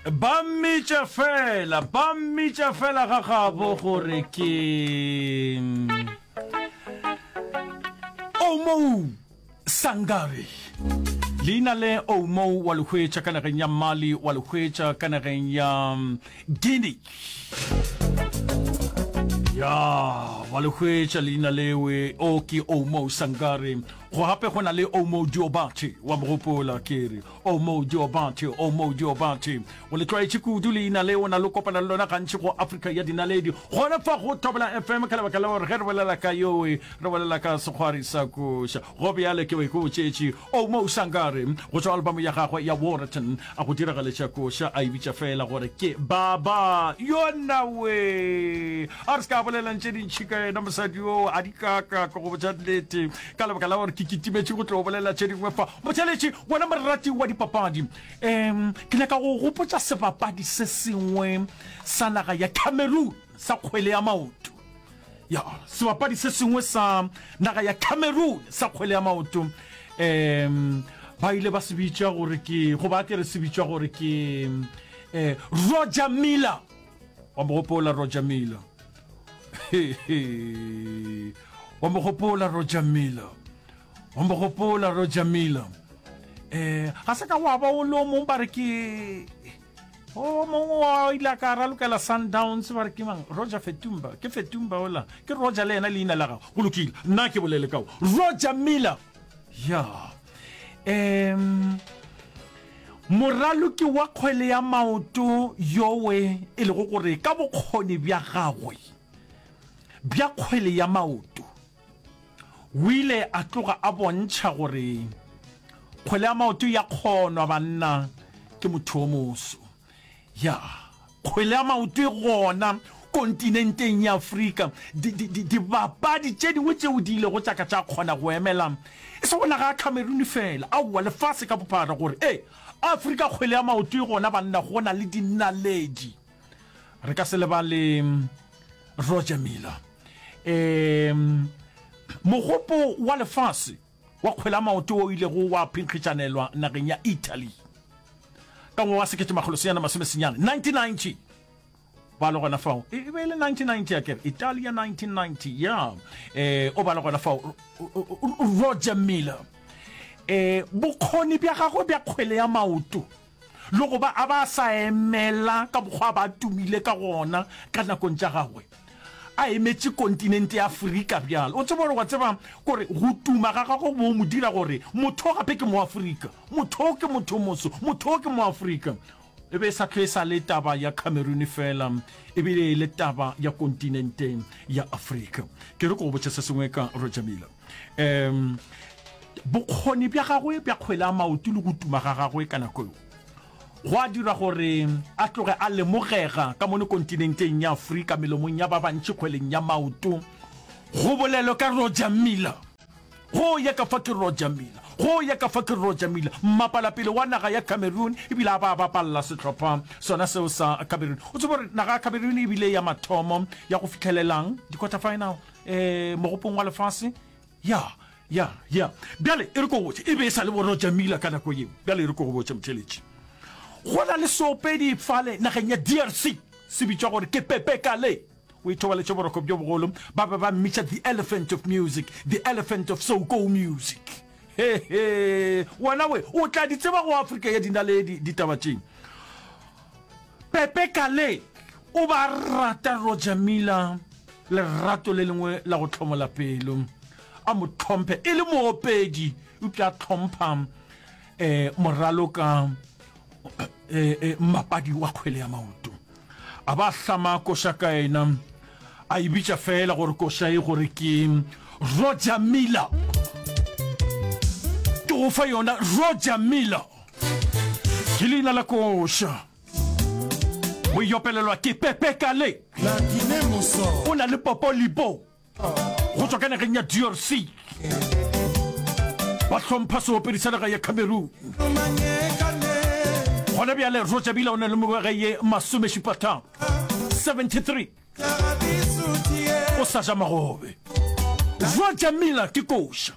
Ba mmitša fela, ba mmitša fela ga gabo gore ke Oumou Sangare. Leina le Oumou wa le hwetša ka nageng ya Mali, wa le hwetša ka nageng ya Guinea. Ya, wa le hwetša leina lewe, o ke Oumou Sangare. Go gape go na le Oumou Diobate, wa mo gopola ke re. Oumou Diobate, Oumou Diobate. O le tlwaetše kudu leina le, o na le kopana le lona gantši go Afrika ya Dinaledi. Gona fa go Thobela FM ka lebaka la gore ge re bolela ka yowe, re bolela ka sekgwari sa koša. Go bjale ke be ke botšetše Oumou Sangare go tšwa album ya gagwe ya Warreton a go diragaletša koša a e bitša feela gore ke Baba Yona we. A re se ka bolelang tše dintši ka yena mosadi yoo a di kaka ke go botša nnete ka lebaka la gore ke kitimetše go tlo bolela tše dingwe fa. Motheeletši, wena morati wa dipapadi, um ke nyaka go gopotša sebapadi se sengwe sa naga ya Cameroon sa kgwele ya maoto. Ya, sebapadi se sengwe sa naga ya Cameroon sa kgwele ya maoto um ba ile ba se bitša gore ke, goba ke re se bitšwa gore ke um Roger Miller. Wa mo gopola Roger Miller? Wa mo gopola Roger Miller? Wa mo gopola Roger Miller? Eh, ga se ka wa ba o le o mong ba re ke o mongwe wa ile a ka ralokela Sundowns ba re ke mang? Roger Fetumba. Ke Fetumba ola. Ke Roger le yena leina la gago. Go lokile. Nna ke bolele ka o. Roger Miller. Ya. Um Moraloki wa kgwele ya maoto yowe e lego gore ka bokgoni bja gagwe bja kgwele ya maoto o ile a tloga a bontšha gore kgwele ya maoto ya kgonwa banna ke motho o moso. Ya, kgwele ya maoto e gona kontinenteng ya Afrika. Dibapadi tše dingwe tšeo di ilego tša ka tša kgona go emela e sego naga ya Cameroon feela, aowa, lefase ka bophara gore ee, Afrika kgwele ya maoto e gona banna, go na le dinaledi. Re ka se lebale Roger Milla. Um, mogopo wa lefase wa kgwele ya maoto wo o ilego wa phenkgišanelwa nageng ya Italy ka ngwaga wa 1990, 1990, ba le gona fao, e be e le 1990 akere, Italia 1990, ya, eh, o ba le gona fao, Roger Miller, eh, bokgoni bja gagwe bja kgwele ya maoto le go ba a ba sa emela ka mokgwa a ba tumile ka gona ka nakong tša gagwe, a emetše kontinente ya Afrika bjalo. O tseba gore wa tseba kore go tuma ga gagwe bo mo dira gore motho gape ke Moafrika, motho ke motho moso, motho ke Moafrika. E be e sa hlwe e sa le taba ya Cameroon fela, e bile e le taba ya kontinente ya Afrika. Ke re ke go botše se sengwe ka Roger Miller. Um bokgoni bja gagwe bja kgwele ya maoto le go tuma ga gagwe ka nako eo gwa dira gore a tloge a lemogega ka mono kontinenteng ya Afrika melomong ya ba bantši kgweleng ya maoto. Go bolelwe ka Roger Miller. Go ya ka fa ke Roger Miller. Go ya ka fa ke Roger Miller, mmapalapele wa naga ya Cameroon ebile a ba a bapalla sehlopha sona seo sa Cameroon. O tsebe gore naga ya Cameroon e bile ya mathomo ya go fihlelelang di-quarter final eh, mogopong wa lefase. Ya, ya, ya. Bjale e re ko botše, e be e sa le bo Roger Miller ka nako yeo. Bjale e re ko go botše, motheeletši. Go na le seopedi fale nageng ya DRC, se bitšwa gore ke Pepe Kale. O ithobaletše boroko bjo bogolo. Ba be ba mmitša the elephant of music, the elephant of Soco music. He, he. Wena we, o tla di tseba go Afrika ya dinaledi ditaba tše. Pepe Kale o ba rata Roger Miller lerato le lengwe la go hlomola pelo. A mo hlomphe e le moopedi, eupša a hlompha um moraloka um mmapadi wa kgwele ya maoto. A ba hlama koša ka yena, a e bitša feela gore koša e gore ke Roger Miller. Ke go fa yona Roger Miller. Ke leina la koša. O e opelelwa ke Pepe Kale. O na le Popo Lipo go tšwa ka nageng ya DRC. Ba hlompha seopedi sa naga ya Cameroon. Gona bjale Roger Milla o na le mengwaga ye masomešupatharo, 73. O sa ja magobe. Roger Milla ke koša.